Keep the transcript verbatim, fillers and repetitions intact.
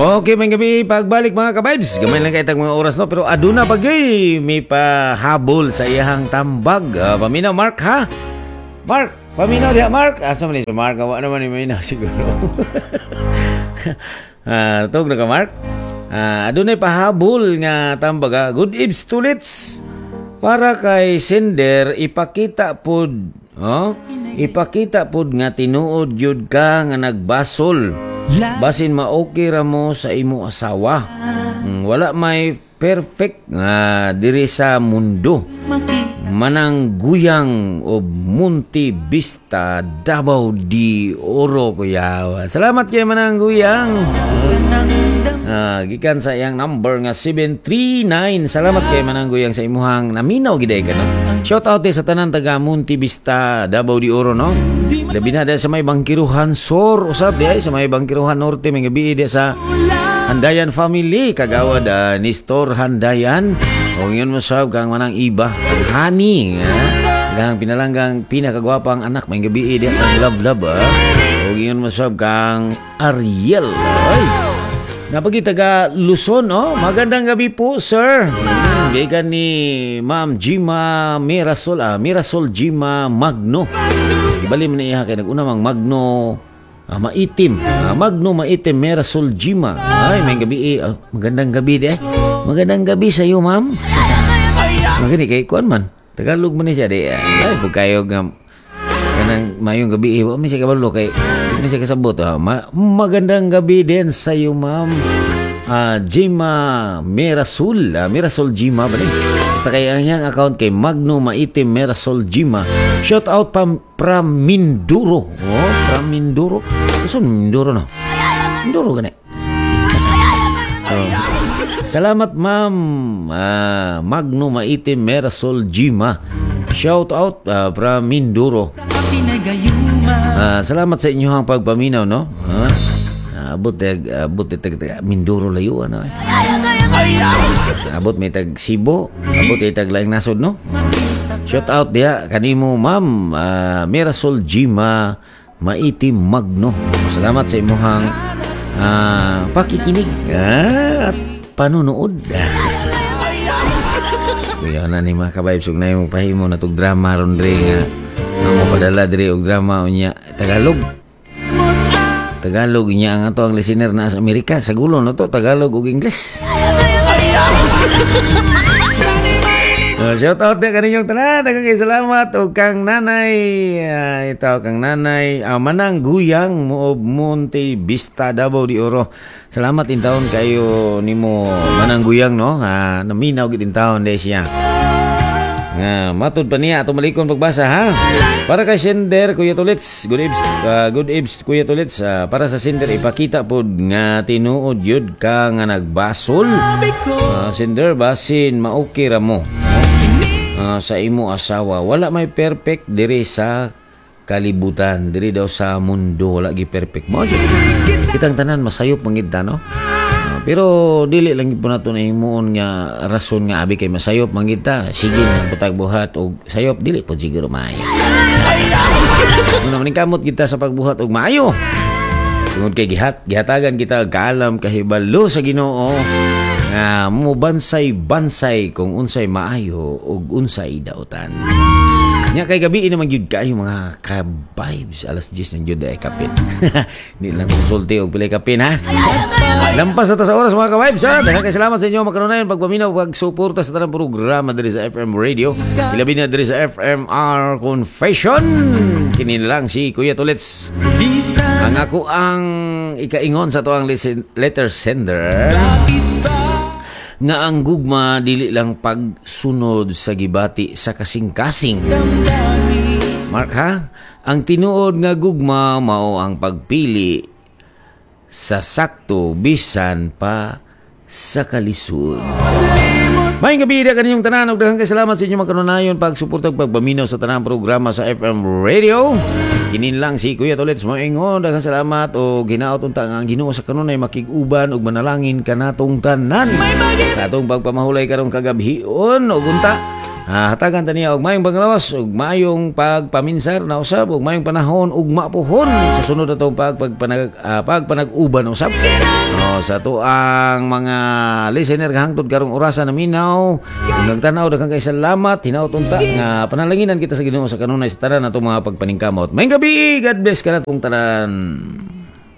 Okay, maayong gabii, pagbalik, mga ka-vibes. Gamay lang kay tag mga oras, no, pero aduna pa gyud may pahabol sa iyang tambag. Uh, paminaw Mark, ha? Mark, paminaw diha, Mark. Asa man ni si Mark? Wa naman ni minaw siguro. Ah, tug na ka, Mark. Ah, adunay pahabol nga tambag, ha. Good eves, Tulits. Para kay sender, ipakita pod, oh, ipakita pod nga tinuod gyud ka nga nagbasol. Basin ma-okay ra mo sa imo asawa. Mm, wala may perfect nga diri sa mundo. Manang Guyang o Monte Vista, Davao de Oro, kuya. Salamat kay Manang Guyang. Ah, gikan sa iyang number nga seven three nine. Salamat kay Manang Guyang sa imuhang naminaw gid ka, no. Shout out sa tanan taga Monte Vista, Davao de Oro, no. Labi na sa may Bangkiruhan Sor usab di ay sa may Bangkiruhan Norte, may gabi di sa Handayan family kagawad uh, Nestor Handayan o yun mo sab kang Manang Iba Hani, ah. Kang pinalanggang pinakagwapang anak, may gabi di kang love love, ah. O yun mo sab kang Ariel, ay. Napagi taga Luzon, oh. Magandang gabi po, sir. Hmm, gikan ni Ma'am Jima Mirasol, ah, Mirasol Jima Magno. Ibali man niya kay nag-una mang Magno, ah, Maitim. Ah, Magno Maitim Mirasol Jima. Ay, may gabi eh. Ah, magandang gabi di eh. Magandang gabi sa iyo, ma'am. Magani kay kuan man. Tagalog man ni siya di. Ay, pag kayo nga kanang mayong gabi eh, wa man siya kabalo kay di man siya kasabot. Ah. Ma- magandang gabi din sa iyo, ma'am. Ah, Jima Mirasol, ah, Mirasol Jima ba ni? Basta kay ang iyang account kay Magno Maitim Mirasol Jima. Shout out pam from Mindoro. Oh, from Mindoro. Gusto Mindoro, no? Mindoro gani. Oh. Salamat, ma'am. Ah, Magno Maitim Mirasol Jima. Shout out ah, from Mindoro. Ah, salamat sa inyong pagpaminaw, no? Ah, abot tag abot tag, tag Mindoro layo ano eh. Abot may tag Cebu, abot may tag laing nasod, no? Shout out diha kanimo, ma'am ah, Mirasol Jima Maitim Magno. Salamat sa imuhang ah, pakikinig ah, at panunood. Kuya na ni mga ka-vibes ug na imong pahimo na tug drama ron dre nga ang mo padala diri og drama unya Tagalog. Tagalog niya ang ato ang listener na sa Amerika sa gulo no to Tagalog ug English. Uh, shout out din kaninyong tanan. Daghang kay salamat og kang nanay, uh, ito kang nanay uh, Manang Guyang mo Monte Vista, Davao de Oro. Salamat in taon kayo nimo, Manang Guyang, no. Uh, naminaw gid in taon de siya. Nga matud pa niya ato malikon pagbasa, ha. Para kay sender, Kuya Tulits, good eves, uh, good eves, Kuya Tulits. Uh, para sa sender, ipakita pod nga tinuod yun ka nga nagbasol. Uh, sender basin maokay ra mo uh, sa imo asawa. Wala may perfect diri sa kalibutan, diri daw sa mundo wala gi perfect mo. Kitang tanan masayop man gid ta, no? Uh, pero dili lang gyud po nato na himuon nga rason nga abi kay masayop man gid ta. Sige na butag buhat og sayop, dili po siguro maayo. Muna maningkamot kita sa pagbuhat og maayo. Tungod kay gihat gihatagan kita og kaalam kahibalo sa Ginoo nga mo bansay-bansay kung unsay maayo ug unsay dautan. Nya kay gabi naman gyud kaayo, mga ka-vibes, alas diyes ng gyud ay kapin. Di lang konsulti og pilay kapin, ha. Lampas na ta sa oras, mga ka-vibes, ha. Daghang kay salamat sa inyo makanunayon pagpaminaw, pagsuporta sa tanang programa diri sa F M Radio. Ilabi na diri sa F M R Confession. Kini lang si Kuya Tulits. Ang ako ang ikaingon sa to ang listen, letter sender nga ang gugma dili lang pagsunod sa gibati sa kasing-kasing. Mark, ha? Ang tinuod nga gugma mao ang pagpili sa sakto bisan pa sa kalisod. Maayong gabi na kaninyong tanan ug daghang kay salamat sa inyong makanunayon pagsuporta ug pagpaminaw sa tanang programa sa F M Radio. Kinin lang si Kuya Tulits moingon, daghang salamat o ginaot unta nga ang Ginoo sa kanunay makig-uban ug manalangin kanatong tanan. Sa atong pagpamahulay karong kagabhion ug unta Ah, hatagan ta niya og maayong panglawas ug maayong pagpaminsar na usab ug maayong panahon ug mapuhon sa sunod atong pagpagpanag uh, pagpanag-uban usab. Oh, sa atoang mga listener nga hangtod karong orasa naminaw, kung nagtanaw, daghang kay salamat. Hinaot unta nga panalanginan kita sa Ginoo sa kanunay sa tanan natong mga pagpaningkamot. Maayong gabii, God bless kanatong tanan.